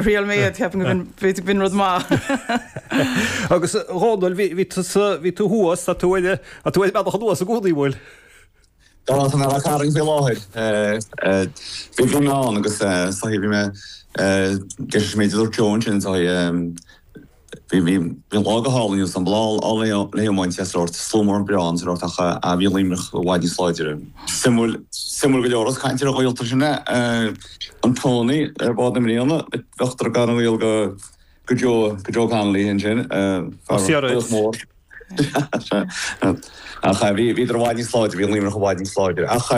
Thriail mé iad, ceapaim go b'in, b'fhéidir go b'in rud maith. Agus a Dhónaill, bhí, bhí tusa, bhí tú thuas, tá tú ar, tá tú ar an mbealach anuas i gcónaí, an bhfuil? Tá, tá mé ar Carn faoi láthair. Bhí, bhí mé ann agus is dóichí bhí mé, deis an méid a dúirt Joe ansin, is dóichí, Bhí bhí an lá go hálainn agus an bláth le hiomáint is sórt slua mór breá ann sórt ach bhí Luimneach i bhfad níos láidre. Suimiúil suimiúil go leor as caint ar ghaolta sin é an Tony ar bhád na mbliana bheadh gar an ghaol go go Joe go Joe Connolly ansin fear laoch mór. Ach bhí bhíodar i bhfad níos láidre, bhí Luimneach i bhfad níos láidre. Ach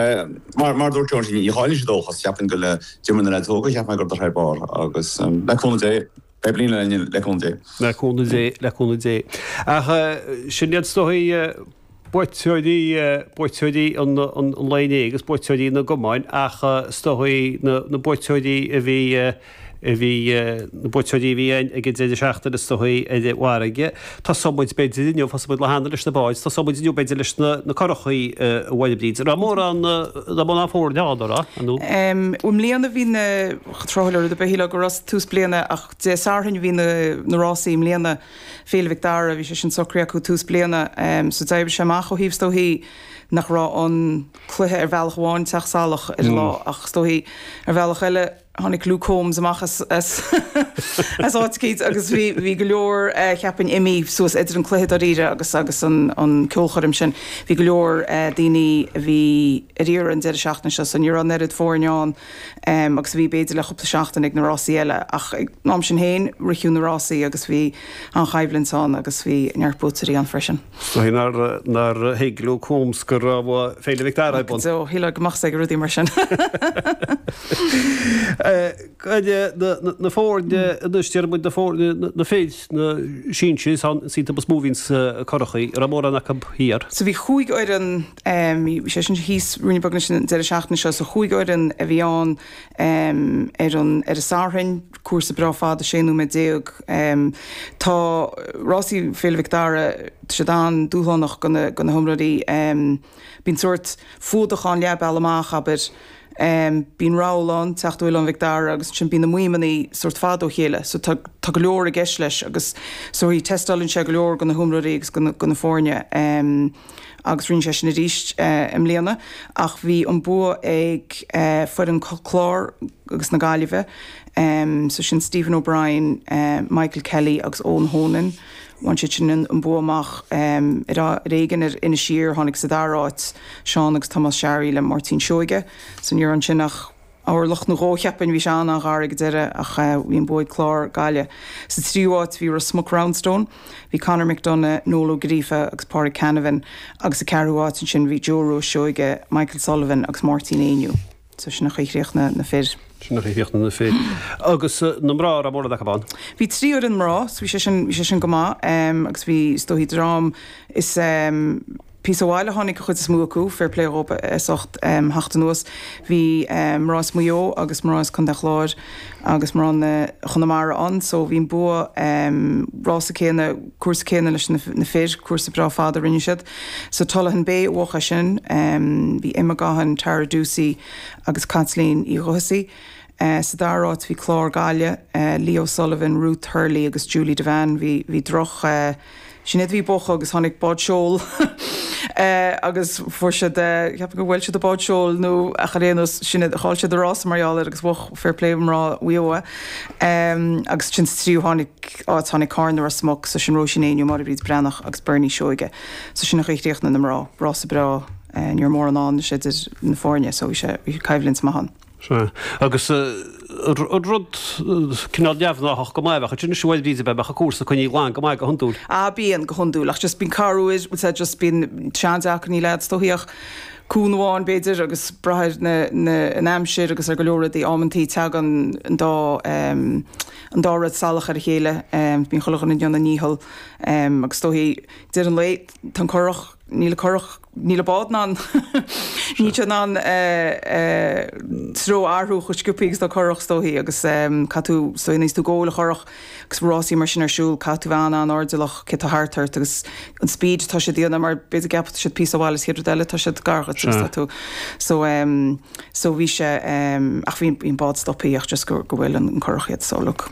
mar mar a dúirt Joe ansin ní chailleann siad ó dúchas, cheapfainn go le d'imir na leaids óga cheap mé go rabhadar thar barr agus le cúnamh Dé Beidh bliain eile againn le cúnamh Dé. Le cúnamh Dé, le cúnamh Dé. Ach sin iad is dóigh buaiteoirí, buaiteoirí an lae inné agus buaiteoirí na gcumainn ach is dóigh na na buaiteoirí a bhí, a bhí, na buaiteoirí a bhí ag an deireadh seachtaine is dóigh ar an bhfarraige. Tosóidh muid b'fhéidir inniu, thosaigh muid lá cheana leis na báid, tosóidh muid inniu b'fhéidir leis na na curachaí a Mháire Bríd. Raibh mórán, raibh mórán foirne ann, an raibh, nó? I mbliana bhí na. Tráthúil ar rud ar bith, shílfeá go raibh tús bliana ach Dé Sathairn a bhí na rásaí i mbliana, Féile Mhic Dara, bhí sé sin socraithe acu tús bliana so d'oibrigh sé amach ó thaobh is dóichí nach raibh an cluiche ar bhealach amháin teacht salach ar an lá ach is dóichí ar bhealach eile tháinig Luke Holmes amach as as as áit eicínt agus bhí bhí go leor cheapfainn imithe suas idir an cluiche dáiríre agus agus an an ceolchoirm sin. Bhí go leor daoine a bhí ar iarraidh an deireadh seachtaine seo so ní raibh an oiread foirne ann agus a bhí b'fhéidir le chúpla seachtain ag na rásaí eile ach ag an am sin féin ritheadh na rásaí agus bhí an-choimhlint ann agus bhí neart buaiteoirí ann freisin. Is dóigh nár nár thuig Luke Holmes go raibh Féile Mhic Dara ar bun. Go deo, shílfeá go mbeadh 's aige rudaí mar sin. Na foirne anois, déarfaidh muid na foirne, na fir, na sinsir, is iad is mó a bhíonn sna curachaí, an raibh mórán acu thiar? So bhí chúig fhoireann Bhí sé sin thíos ruainne beag anois an deireadh seachtaine seo so chúig fhoireann a bhí ann ar an ar an Satharn, cúrsa breá fada, 16 nóiméad. Tá rásaí Féile Mhic Dara, tá siad an-dúshlánach do na do na hiomróirí. Bíonn sórt fuadach ann leath bealaigh amach, abair. Bíonn rabhal ann, teacht ó Oileán Mhic Dara agus ansin bíonn na maidhmeanna sórt fada ó chéile so tá tá go leor i gceist leis agus so tástálann sé go leor do na hiomróirí agus do na do na foirne. Agus rinne sé sin arís i mbliana ach bhí an bua ag foireann Clár agus na Gaillimhe, so sin Stephen O'Brien, Michael Kelly agus Eoin Honan. Bhain siad sin an bua amach ar éigean ar Inis Oírr, tháinig sa dara háit Seán agus Tomás Sharry le Máirtín Seoige. So ní raibh ansin ach orlach nó dhó cheapfainn, bhí sé an-an-ghar ag an deireadh ach bhí an bua ag Clár, Gaillimh. Sa tríú háit bhí Ros Muc Roundstone, bhí Conor McDonagh, Noel Ó Gríofa agus Pádraig Canavan agus sa ceathrú háit ansin bhí Joe Rua Seoige, Michael Sullivan agus Máirtín Éinniú. So sin an chaoi a chríochnaigh na fir. Sin an chaoi a chríochnaigh na fir. Agus na mná, raibh mórán acu ann? Bhí trí fhoireann mná so bhí sé sin, bhí sé sin go maith agus bhí is dóichí dream is píosa ó bhaile a tháinig an chuid is mó acu, fair play dhóibh as ucht theacht anuas. Bhí mná as Maigh Eo agus mná as Contae an Chláir agus mná na Chonamara ann so bhí an bua rása céanna, cúrsa céanna leis na fir, cúrsa breá fada a rinne siad. So Tullaghan Bay a bhuaigh é sin. Bhí Emma Gaughan, Tara Ducey agus Caitlín Uí Dhubhthasaigh. Sa dara háit bhí Clár Gaillimh, Leo Sullivan, Ruth Hurley agus Julie Devane. Bhí bhí droch Sinéad bhí bócha agus tháinig bád seoil agus fuair siad ceapaim gur bhuail siad an bád seoil nó ach ar aon nós Sinéad chaill siad an rása mar gheall air agus bhuaigh fair play mná Mhaigh Eo é. Agus ansin sa tríú tháinig áit tháinig Carna Ros Muc so sin Róisín Éinniú, Máire Bríd Breathnach agus Bernie Seoige. So sin an chaoi a chríochnaigh na mná. Rása breá ní raibh mórán ann anois idir na foirne so bhí sé bhí coimhlint maith ann. Sea. Agus an rud cineál neamhghnáthach go maith, bheadh ansin is bhuel b'fhéidir bheadh an cúrsa coinnithe glan go maith go hiondúil. Ah bíonn, go hiondúil, ach just bíonn corruair, bhfuil sé just bíonn sé an-deacair, níl agat is dóichí ach cuan amháin b'fhéidir agus brath ar na, na, an aimsir agus ar go leor rudaí, amantaí tagann an dá, an dá rud salach ar a chéile, bíonn chuile dhuine ag déanamh a ndícheall agus is dóichí deireadh an lae tá an curach, níl an curach. Níl an bád in ann, níl sé in ann treo a athrú chomh sciobthaí agus atá curach is dóichí agus caithfidh tú, is dóigh, nuair tú ag gabháil an churach agus rásaí mar sin ar siúl, caithfidh tú bheith an-an-airdeallach cé tá thart ort agus an speed atá siad a dhéanamh mar b'fhéidir go gceapfadh siad píosa ó bhaile is chéad rud eile tá siad gar dhuit agus tá tú so so bhí sé ach bhí an bád stopthaí ach just go go bhfuil an curach iad so look.